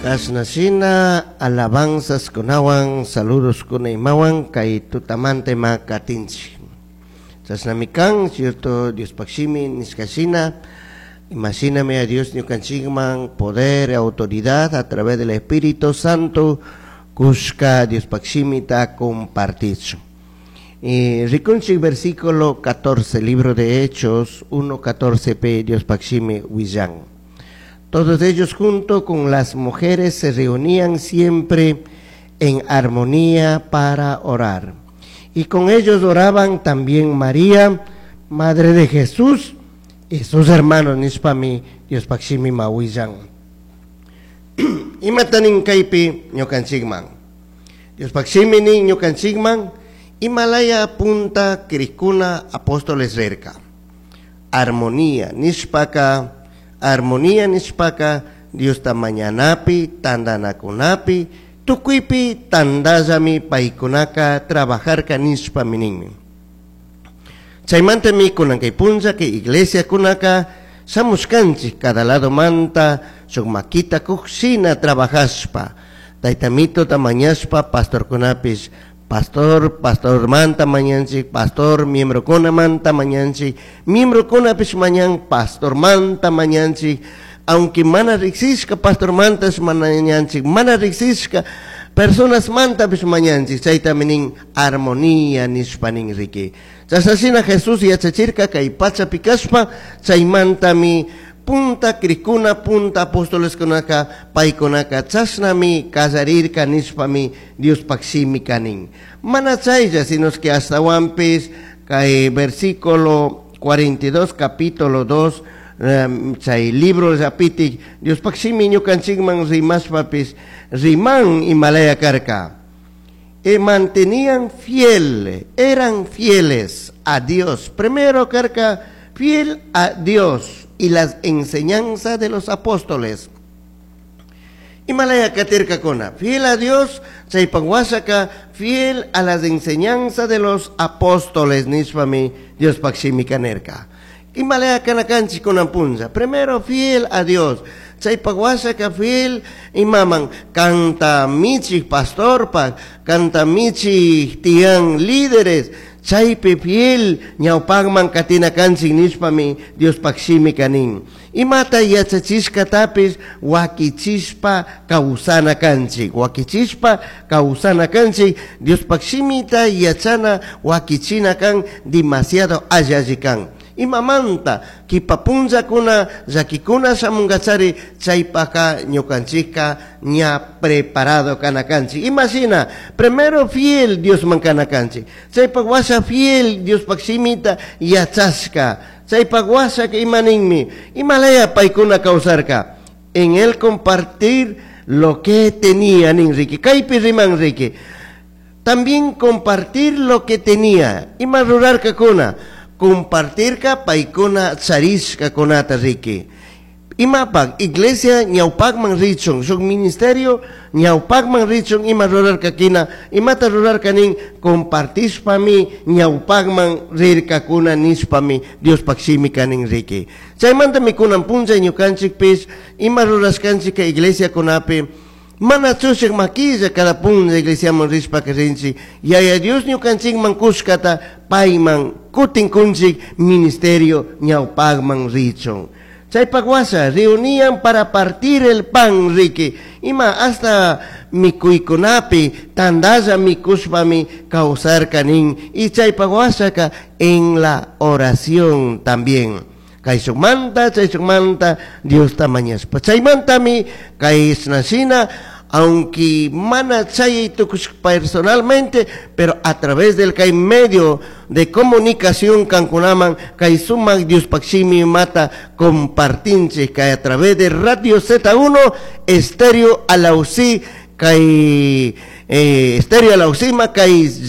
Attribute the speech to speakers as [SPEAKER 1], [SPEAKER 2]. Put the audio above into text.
[SPEAKER 1] Kashnashina alabanzas kunawan, saludos kuna imawan kay tutamanta ima katinchik. Chashnami kan, cierto, Diospaj shimi nishkashina, imashinami a Dios ñukanchikman poder, autoridad a través del Espíritu Santo kushka Diospaj shimita compartichun. Y rikunchik versículo 14, libro de Hechos 1.14 p Diospaj shimi willan. Todos ellos junto con las mujeres se reunían siempre en armonía para orar. Y con ellos oraban también María, madre de Jesús, y sus hermanos nishpami Diospaj shimi willan. Imata nin kaypi ñukanchikman. Diospaj shimi nin ñukanchikman imalaya punta crijkuna apóstoles rirka. Armonía nishpaka, armonía nishpaka Diosta mañanapi, tandanakunapi, tukuypi tandallami paykunaka trabajarka nishpami ninmi. Chaymantami kunan kay punlla kay iglesia kunaka shamushkanchik cada lado manta shuk makita kukshina trabajashpa taytamitota mañashpa pastorkunapish pastor pastor manta mañanchik, pastor miembrokuna manta mañanchik, miembrokunapish mañan pastor manta mañanchik, aunque mana riksishka pastor mantash mañanchik, mana riksishka personas mantapish mañanchik, chaytami nin armonía nishpa nin riki. Chashnashina Jesús yachachirka kay pachapi kashpa, chaymantami punta crikuna, punta apóstoleskunaka, paykunaka chashnami kallarirka nishpami Diospaj shimi kanin. Mana chaylla, sino que ashtawanpish kay versículo 42, capítulo 2, chay libro llapitik Diospaj shimi ñukanchikman rimashpapish riman imalaya karka. Y mantenían fiel, eran fieles a Dios. Primero karka fiel a Dios y las enseñanzas de los apóstoles. Imalaya katirkakuna, fiel a Dios, chaypak washaka, fiel a las enseñanzas de los apóstoles, nishpami Diospaj shimika nirka. Imalaya kana kanchik kunan punlla, primero fiel a Dios, chaypak washaka fiel imaman, kanta michik pastorpak, kanta michik tiyan líderes, chaypi fiel ñawpakman katina kanchik nishpami Diospaj shimika nin. Imata yachachishkatapish wakichishpa kawsana kanchik, wakichishpa kawsana kanchik, Diospaj shimita yachana wakichina kan demasiado alli alli kan. Imamanta kipa punllakuna llakikuna shamunkachari chaypaka ñukanchikka ña preparado kana kanchik. Imashina primero fiel Diosman kana kanchik, chaypak washa fiel Diospaj shimita yachashka, chaypak washaka ima ninmi imalaya paykuna kawsarka en el compartir lo que tenía nin riki, kaypi riman riki, también compartir lo que tenía. Ima rurarkakuna compartirka paykuna charishka kunata riki. Imapak iglesia ñawpakman richun, shuk ministerio ñawpakman richun ima rurarkakina, imata rurarka nin compartishpami ñawpakman rirkakuna nishpami Diospaj shimika nin riki. Chaymantami kunan punlla ñukanchikpish ima rurashkanchik iglesia kunapi mana chushik makilla cada punlla iglesiaman rishpaka rinchik, Yaya Dios ñukanchikman kushkata payman kutin kunchik ministerio ñawpakman richun. Chaypak washa reunían para partir el pan riki, ima hasta mikuykunapi tandalla mikushpami kawsarka nin, y chaypak washaka en la oración también. Kayshukmanta, chayshukmanta Diosta mañashpa. Chaymantami kayshnashina, aunque mana chay tukush personalmente, pero a través del kay medio de comunicación kankunaman, kay sumak Diospaj shimi mata compartinchik, kay a través de Radio Z1, Estéreo Alausí, kay Estéreo Alausima, kay